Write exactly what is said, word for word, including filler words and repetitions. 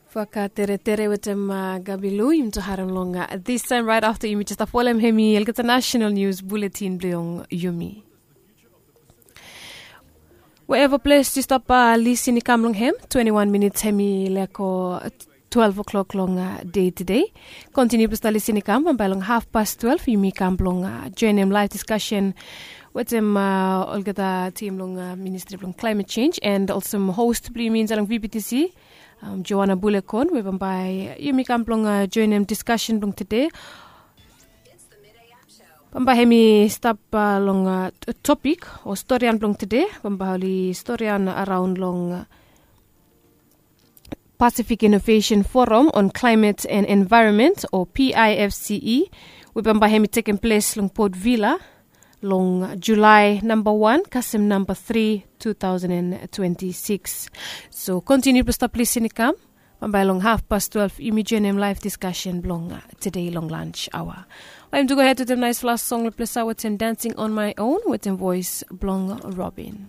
Faka teretere wetem uh, gabilu yumi tu harem long uh, this time right after yumi just folem hemi elgeta national news bulletin blong yumi. Wherever ples yu stap uh, lisin i kam long hem, twenty-one minutes hemi leko twelve o'clock long uh, day today. Continue ples ta lisin i kam bambai long half past twelve yumi kam blong uh, join em live discussion wetem uh, olgeta team long uh, ministry blong climate change and also host blong yumi inside long V B T C. Um, Joanna Bulekon we bambai yumi kam blong uh, join em discussion blong today. Bambai hemi stap uh, long uh, topic o storian blong today bambai oli storian around long uh, Pacific Innovation Forum on Climate and Environment o P I F C E we bambai hemi tekem ples long Port Vila long July number one kasem number three two thousand and twenty-six. So continue to stop listening kam. Bambai long half past twelve yumi join em live discussion blong uh, today long lunch hour. Waim to go ahead to the nice last song le plesa wetem Dancing on My Own wetem voice blong Robin.